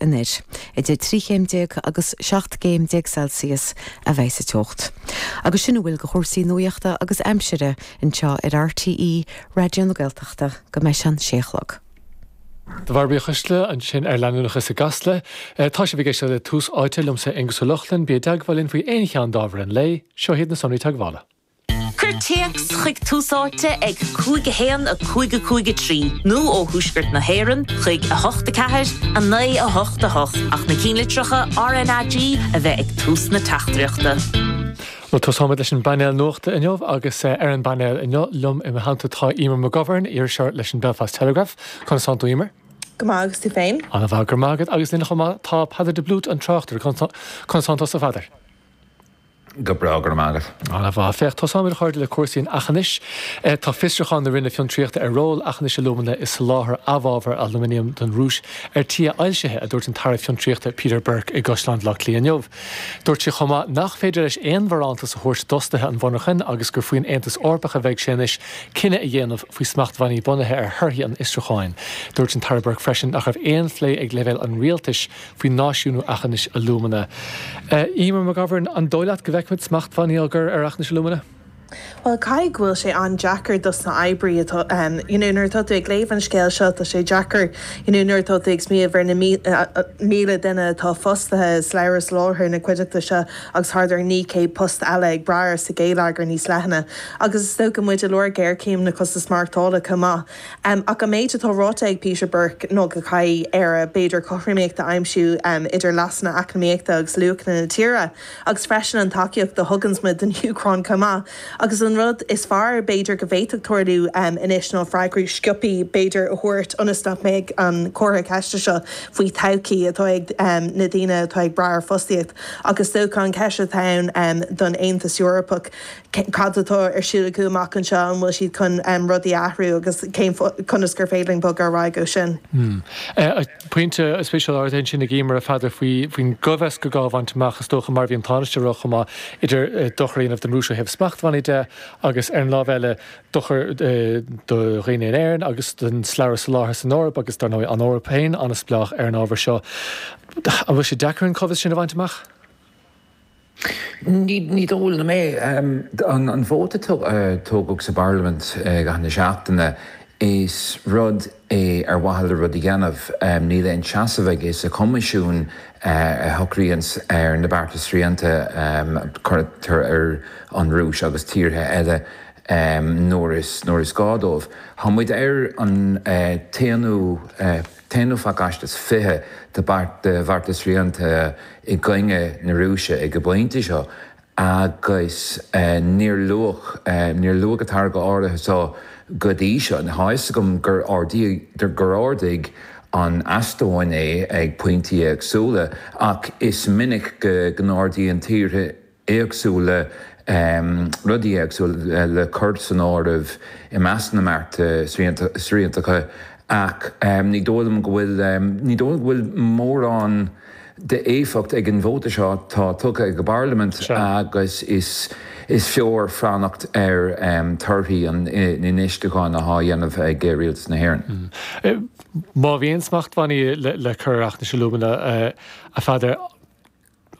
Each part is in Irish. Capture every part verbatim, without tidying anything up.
anoir. Idir trí chéim déag agus seacht gcéim déag Celsius a bheidh sa teocht. Agus sin a bhfuil de chúrsaí nuachta agus aimsire anseo ar R T E Raidió na Gaeltachta go mbeidh an sé a chlog. Do bhí chuisle ansin ar leanúnachas i gCasla, tá sibh ag éisteacht le Tús Áite liomsa Aengus Ó Lochlainn. Bí i dteagmháil linn faoi aon cheann d'ábhair an lae, seo hiad na sonraí teagmhála. Cuir téacs chuig Tús Áite ag cúig a haon a cúig a cúig a trí nó ó thuaisceart na hÉireann chuig a hocht a ceathair a naoi a hocht a hocht ach na ceannlitreacha R N A G a bheith ag tús na teachtaireachta. Well tosaímid leis an bpainéal nuachta inniu agus eh, ar an bpainéal inniu liom i m'theannta tá Eimear McGovern, iriseoir leis an Belfast Telegraph, Conas tánn tú, Eimear? Go maith, agus tú féin? An-mhaith, go raibh maith agat. Agus linn chomh maith tá Peadar de Blút, an tráchtaire. Conas tánn tusa, a Pheadair? Go breá, go raibh maith agat. An-mhaith. Féach, tosaímid, a chairde, le cúrsaí an Aughinish. Eh, tá fiosrúchán na Roinne Fiontraíochta ar ról Aughinish Alumina i soláthar amhábhar aluminium don Rúis ar tí a fhoilsithe, a dúirt an tAire Fiontraíochta Peter Burke i gCaisleán Bhaile Átha Cliath inniu. Dúirt sé chomh maith nach féidir leis aon bharántas a thabhairt d'fhostaithe an mhonarchain agus gur faoin Aontas Eorpach a bheidh sé anois cinneadh a dhéanamh faoi smachtbhannaí bunaithe ar thorthaí an fhiosrúcháin. Dúirt an tAire Burke freisin nach raibh aon phlé ag leibhéal an rialtais faoi náisiúnú Aughinish Alumina. Uh, Eimear McGovern, an dóigh leat go bhfeicfimid smachtbhannaí á gcur ar Aughinish Alumina? Well, caithfidh go bhfuil sé an-deacair dos na hoibrithe atá um, you know, nuair atá tú ag léamh an scéal seo, tá sé deacair you know, nuair atá tú ag smaoineamh ar na míle duine atá fostaithe slabhra soláthair na cuideachta seo agus thart ar naoi gcéad post eile ag brath sa gheilleagar níos leithne. Agus is dócha muid i lár géarchéim na costas maireachtála chomh maith. Um, ach an méid atá ráite ag Peter Burke ná go gcaithfidh Éire b'fhéidir cothromaíocht a aimsiú um, idir leasanna eacnamaíochta agus luachanna na tíre, agus freisin an tacaíocht a thugann muid don Úcráin chomh maith. Agus an rud is fearr b'fhéidir go bhféadfadh tarlú um, anois ná freagraí sciobtha b'fhéidir a thabhairt ionas nach mbeidh an comhartha ceiste seo faoi todhchaí atá ag um, na daoine atá ag brath ar fostaíocht. Agus dócha an cheist atá ann um, don Aontas Eorpach cad atá ar siúl acu amach anseo, an bhfuil siad chun um, rudaí athrú agus cén conas gur féidir linn bogadh ar aghaidh ó sin. Hmm. Uh, Pointe spéisiúil ar sin ag Eimear, a Pheadair, faoi faoin gcóimheas gur gá a bhaint amach, is dócha, mar bhí an Tánaiste ag rá chomh maith, idir uh, dochar a dhéanamh don Rúis ó thaobh smachtbhannaí de agus ar an lámh eile dochar uh, do dhaoine in Éirinn agus don slabhra soláthair san Eoraip agus dar ndóigh an Eoraip féin an-spleách ar an ábhar seo. An bhfuil sé deacair an cóimheas sin a bhaint amach? Ní dóigh liom é. An an vóta tógadh sa bparlaimint gan na seachtaine, is rud é ar mhaithe le rud a dhéanamh. Níl aon seasamh aige sa Choimisiún a shocraíonn ar na bearta srianta cuirtear ar an Rúis agus tíortha eile nuair is nuair is gá dóibh. Tá muid ar an t-aonú t-aonú phacáiste is fiche de bhearta srianta i gcoinne na Rúise ag an bpointe seo agus níor luadh níor luadh an táirge áirithe seo go dtí seo. Tá a fhios agam gur gur ardaigh an Eastóin é ag pointí éagsúla, ach is minic go n-ardaíonn tíortha éagsúla um, rudaí éagsúla le cur san áireamh i measc na mbearta sriantacha, ach um, ní dóigh liom go bhfuil um, ní dóigh go bhfuil mórán d'éifeacht ag an vóta seo tá tugtha ag an bparlaimint agus is is fearr fanacht ar um, torthaí an fhiosrúcháin atá á dhéanamh ag rialtas na hÉireann. Mm. Má bhíonn smachtbhannaí le, le cur ar Aughinish Alumina, uh, a Pheadair,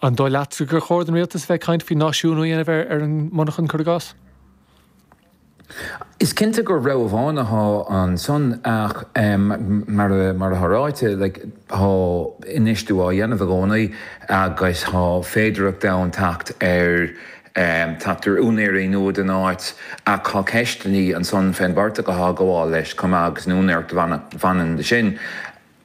an dóigh leat gur chóir don rialtas bheith caint faoi náisiúnú a dhéanamh ar ar an monarchan, cuir i gcás? Is cinnte gur rogha amháin atá ansan, ach um, mar mar atá ráite, like, tá infheistiú á dhéanamh i gcónaí agus tá féidearthacht ann teacht ar um, teacht ar úinéirí nua den áit, ach tá ceisteanna ansan fén bportach atá ag gabháil leis chomh maith agus an úinéireacht a bhaineann leis sin.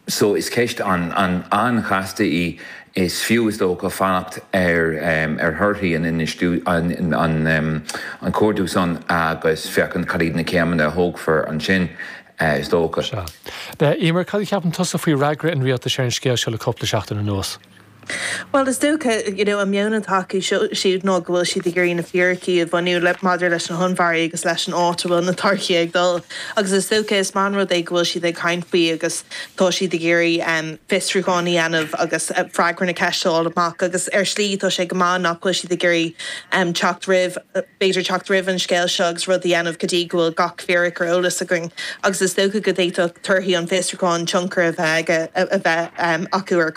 So is ceist an an an-chasta í. Is fiú, is dócha, fanacht ar um, ar thorthaí an an an, um, an cuardú san agus féachaint cad iad na céimeanna a thógfar ansin, uh, is dócha. Eimear, cad a cheapann tusa faoi fhreagra an rialtais ar an scéal seo le cúpla seachtain anuas? Well, is dócha you know, an meon atá acu siúd ná go bhfuil siad ag iarraidh na fíricí a bhailiú le maidir leis na honnmhairí agus leis an áit a bhfuil na táirgí ag dul. Agus is dócha is maith an rud é go bhfuil siad ag caint faoi agus tá siad ag iarraidh um, fiosrúchán a dhéanamh agus uh, freagra na ceiste amach agus ar shlí tá sé go maith nach bhfuil siad ag iarraidh um, teacht roimh, b'fhéidir teacht roimh an scéal seo agus rud a dhéanamh go dtí go bhfuil gach fíric ar eolas againn. Agus is dócha go bhféadfadh torthaí an fiosrúcháin tionchar a bheith a bheith um, acu ar